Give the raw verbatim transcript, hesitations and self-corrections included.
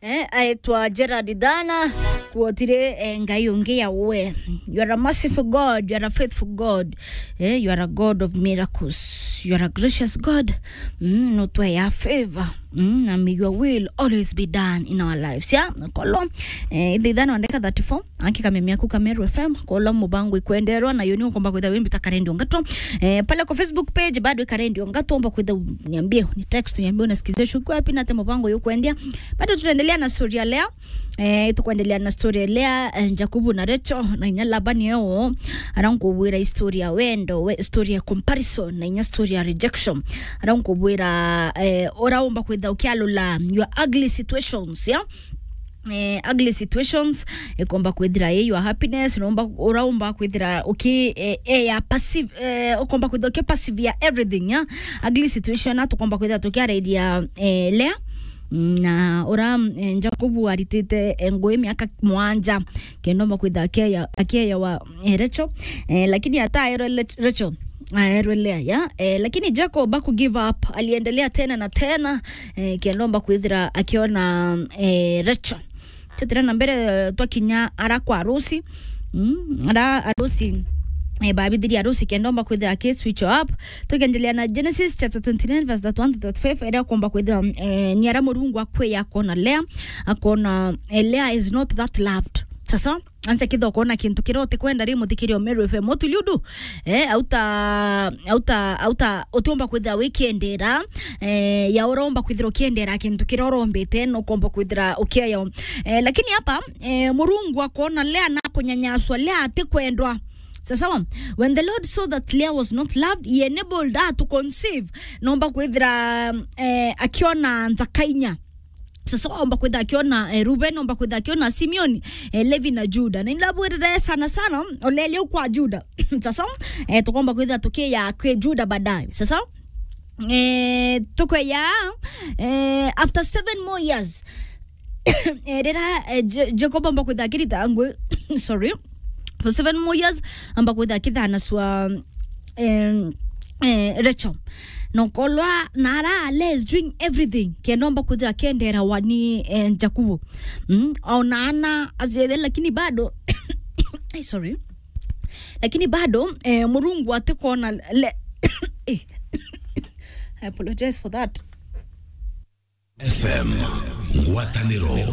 Eh, aitwa Gerard Dana, kuotire, eh, ngai ungi ya we. You are a merciful God, you are a faithful God, eh, you are a God of miracles, you are a gracious God. Mm, no twe ya favor. Mm, na may your will always be done in our lives. Ya, kolo, eh, ithe ithano ndeka thirty-four, aki kamemia ku Kameru F M, kolo mubango ikwenderwa, na yoni ukomba kwitha wimbi ta Karendi Ongato. Eh, pale kwa Facebook page bado Karendi Ongato, omba kwitha niambie, ni text niambie unasikizia shuku wapi na te mubango yukwendia. Bado tunaendelea na story ya leo. Eh, tukuendelea na story ya lea, eh, Jacob na Rachel, na inya Labani eo, ara nkubwira story ya wendo, we, story ya comparison, na inya story ya rejection. Ara nkubwira, eh, ora umba kwitha ukialula your ugly situations, yeah? Eh, ugly situations, ikomba kwithira i your happiness, nomba, ora umba kwithira uki, eh, eh, ya passive, eh, ukomba kwithira uki passive ya everything, yeah? Ugly situation, na tukomba kwithira tukiarairia, eh, lea, na ora, eh, Jacob aritite, eh, ngui miaka mwanja, kenda omba kwitha akieya, akieya wa, eh, Rachel, eh, lakini ata aerwe Rach-, Rachel, aerwe Lea, ya, eh, lakini Jacob aku give up, aliendelea tena na tena, eh, kenda omba kwithira akiona, eh, Rachel. Twetire na mbere, eh, twakinya ara kwa arusi. Mm, ara arusi, eh, babithirie arusi kenda omba kwithira aki switch up. Tukiendelea na Genesis chapter twenty-nine verse thirty-one to thirty-five, era komba kwithira, eh, ni ara Murungu akwiya akona Lea, akona, eh, Lea is not that loved. Sasa, anza kitha ukona kintu kiria utikwenda ri muthikiria Meru F M. Mutuliudu, eh, auta, auta, auta, utiumba kwithira wikiendera, eh, ya uromba kwithira ukiendera kintu kiria urombete, no komba kwithira ukieyo. Eh, lakini hapa, eh, Murungu akona Lea na kunyanyaswa, Lea atikwendwa. Sasa, when the Lord saw that Leah was not loved, he enabled her to conceive. Nomba kwithira, eh, akiona nthakainya. Sasa omba kwitha akiona, eh, Reuben, omba kwitha akiona Simeon, eh, Levi na Juda. Na indabwirire sana sana, olele kwa Juda. Sasa, eh, tukomba kwitha tukiya kwi Juda baadaye. Sasa, eh, tukweya, eh, after seven more years, eh, rira, eh, Je-, Jacob omba kwitha akirita ngui, sorry, for seven more years, amba kwitha akithanaswa, em, eh, Rachel. Nokolwa nara Lea is doing everything kenda omba kwithira akiendera wani, eh, Jakubu. Mm, ona ana aziethe, lakini bado, ai, sorry. Lakini bado, eh, Murungu atikona Le-, eh, I apologize for that. F M, ngwatanĩro ya